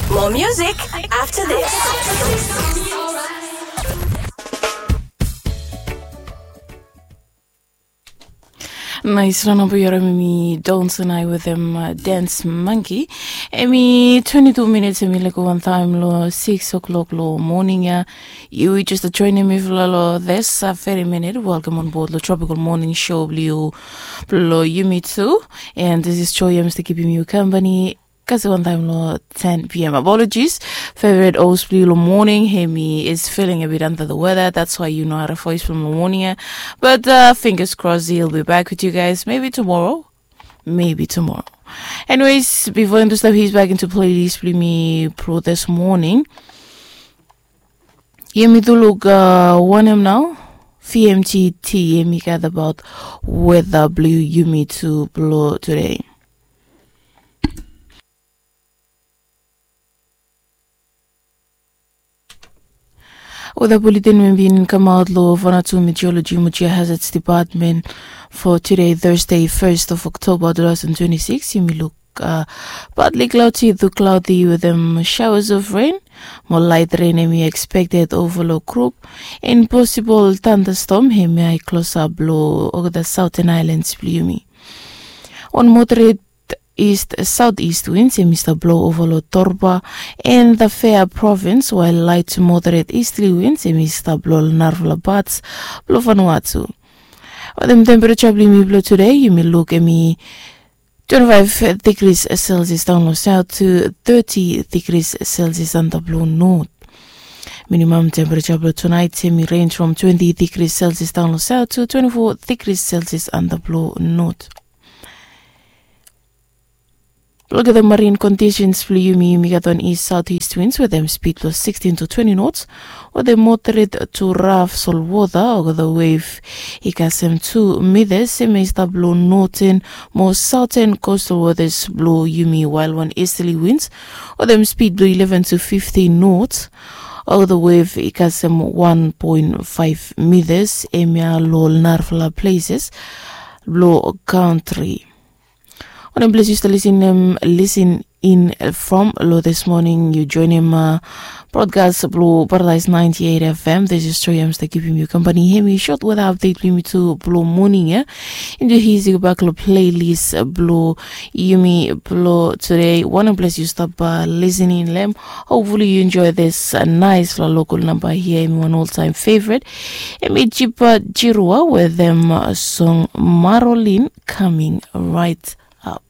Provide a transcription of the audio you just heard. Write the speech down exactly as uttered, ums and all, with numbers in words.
More music after this. Nais rana bo yu harim mi Dons and I with him uh, Dance Monkey. Emi twenty-two minutes emi leko wantaim lo six o'clock lo morning ya. Yu just joining me for lo this uh, very minute. Welcome on board lo Tropical Morning Show blo yu blo yumi too. And this is Joy. I'm still keeping you company. Kasi wantaim lo ten p.m. Apologies. Favorite host blo yu lo morning. Hemi is feeling a bit under the weather. That's why you know how to voice from the morning. Yeah. But uh, fingers crossed he'll be back with you guys maybe tomorrow. Maybe tomorrow. Anyways, before I stop, he's back into playlist blo mi pro this morning. Yumi tu luk uh, one m now. V M T T yumi gat about weather blo yumi tu blo today. Weather bulletin we bin kamaot lo Vanuatu Meteorology mo Geohazards Department for today, Thursday, first of October two thousand twenty-six. Yumi luk uh, partly cloudy to cloudy with um, showers of rain. Mo light rain emi expected over lo group. And possible thunderstorm hemi ai close up lo over the southern islands blo yumi. On moderate east southeast winds emi stap blo over lo Torba and the Fair province, while light to moderate easterly winds emi stap blo narafala parts blo Vanuatu. Wetem temperature blo yumi blo today, yumi luk emi twenty-five degrees Celsius down lo south to thirty degrees Celsius under blo north. Minimum temperature blo tonight emi range from twenty degrees Celsius down lo south to twenty-four degrees Celsius under blo north. Look at the marine conditions blo yumi, yumi gat on east southeast winds wetem speed blo sixteen to twenty knots. Wetem moderate to rough sol water, o the wave i kasem two meters, emi stap lo northern mo southern coastal waters blo yumi, while on easterly winds wetem speed blo eleven to fifteen knots, o the wave i kasem one point five meters, emi lo narafala places blo country. Wanem ples yu stap lisin, um, lisin in from lo this morning, yu joinim uh, broadcast blo Paradise ninety-eight F M. This is Joy. I'm still keeping you company. Hemi short weather update blo yumi tu blo morning ya. Into his go back lo playlist blo yumi blo today. Wanem ples yu stap uh, listening lem. Hopefully you enjoy this uh, nice lo local number here. Emi one all time favorite. Emi Jipa Jirua wetem uh, song Marolin coming right up.